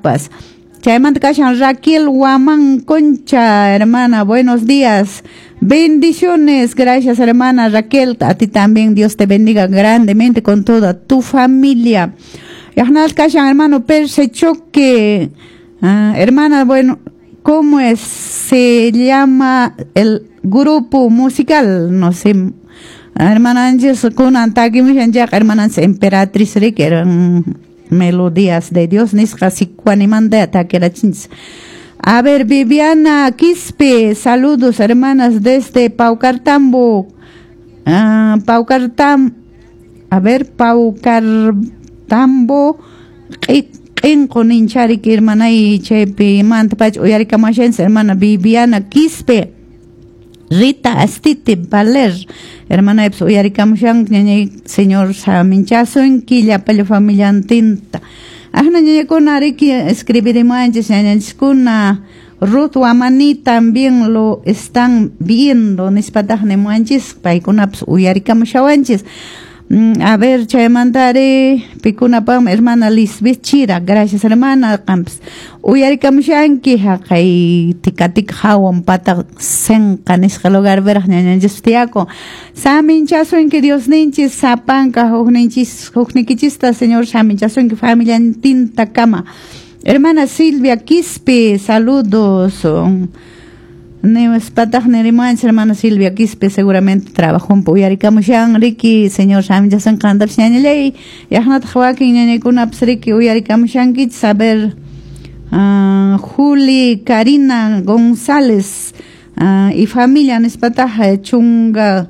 qantapas. Chaymanta kashan Raquel Guamán Concha, hermana, buenos días. Bendiciones, gracias hermana Raquel, a ti también Dios te bendiga grandemente con toda tu familia. Yahnal kashan hermano Perse Choque, hermana, bueno, ¿cómo es? Se llama el grupo musical? No sé. Hermana Anches, kunan takimushan chayqa, hermana Emperatriz riki, eran melodías de Dios nisqa sikuanimanta takirachinchis. A ver, Viviana Quispe, saludos hermanas desde Paucartambo. Paucartambo, q'inqu ninchariki hermanay chaypi manta pacha uyarikamashanchis hermana Viviana Quispe. Rita Astite Valer, hermana uyarikamushan ñañay señor saminchasunki llapalla familiantinta. Ajna ñañakuna riki escribirimuanchis ñañanchiskuna. Ruth Wamani también lo están viendo nispataj nimuanchis paykunapas uyarikamushawanchis. A ver, chaymantari pikunapam hermana Lisbeth Chira, gracias hermana qampas uyarikamushanki haqay tikatika hawan pata senqa nisqa lugar veraq ñañanchis tiyakun. Saminchasunki Dios ninchis sapanka hukninchis huknikichista señor saminchasunki familiantinta kama. Hermana Silvia Quispe, saludos. Nispataq nirimuanchis hermana Silvia Quispe, seguramente trabajó un uyarikamushan riki señor saminchasun qantapas ñañallay. Yaqnataq wakin ñañaykunapas riki uyarikamushankichis. A ver, Juli Karina González y familia nispataq Chunga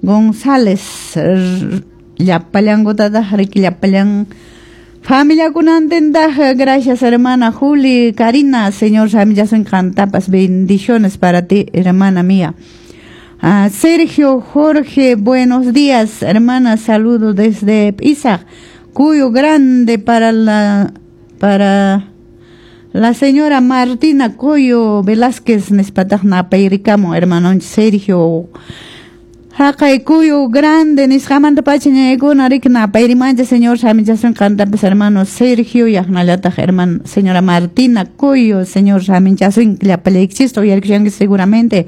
González llapallankutataq riki llapallan familia kunantintaq. Gracias hermana Juli Karina, señor saminchasun qantapas, bendiciones para ti hermana mía. Sergio Jorge, buenos días hermana, saludos desde Pisa, Cuyo Grande para la señora Martina Coyo Velázquez nispataq napayrikamun hermano Sergio. Haqay Cuyo Grande nisqamanta pacha ñañaykuna riki napayrimanchis señor saminchasun qantapas hermano Sergio yaqnallataq hermano señora Martina Coyo, señor saminchasun llapallaykichista uyarikushanki seguramente.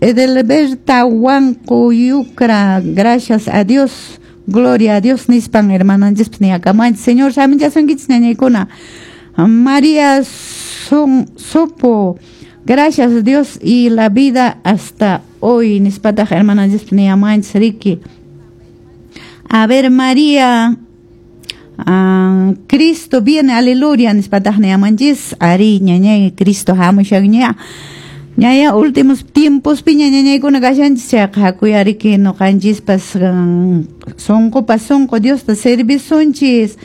Edelberta Huanco Yucra, gracias a Dios, gloria a Dios nispan hermananchispas niyakamanchis señor saminchasunkichis ñañaykuna. María Sopo, gracias a Dios y la vida hasta hoy nispataq hermananchispas niyamanchis riki. A ver, María, Cristo viene, aleluya nispataq niyamanchis. Ari ñañay Cristo hamushanña ñaya últimos tiempos piña ñañaykuna kashanchis chayqa hakuy riki ñuqanchispas sunqupas sunqu Diosta servisunchis.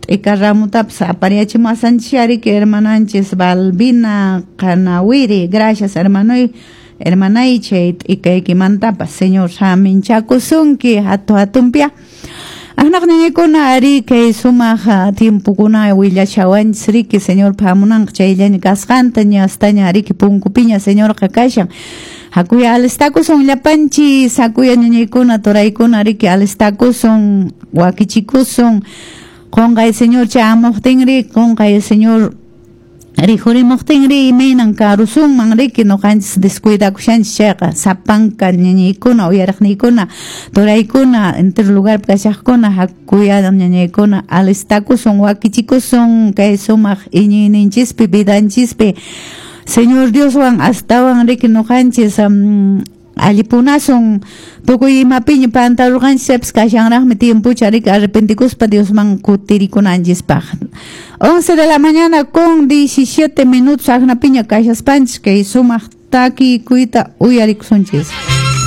T'ika ramutapas apariachimuwasanchis riki hermananchis Balbina Qanawiri, gracias hermanoy hermanay chay t'ikaykimantapas señor saminchakusunki hatu hatunpia. Ahnaq ñañaykuna ari kay sumaq tiempokuna willashawanchis riki señor hamunanqa chayllaña kasqanta ñastaña riki punkupiña señorqa kashan. Hakuya alistakusun llapanchis, hakuya ñañaykuna turaykuna riki alistakusun wakichikusun. Qonqay señor chamuqtinri, qonqay señor rikhurimuqtinri imaynan karusunman riki ñuqanchis descuidakushanchis chayqa sapanka ñañaykuna uyariqniykuna turaykuna entero lugarpi kashaqkuna hakuya ñañaykuna alistakusun wakichikusun kay sumaq iñiyninchispi vidanchispi señor Dioswan astawan riki ñuqanchis allipunasun tukuy imapiña pantarurqanchis kashanraqmi tiempucha riki arrepentikuspa Diosman kutirikunanchispaq. 11 de la mañana con 17 minutos aqnapiña kashaspanchis kay sumaq takikuyta uyarikusunchis.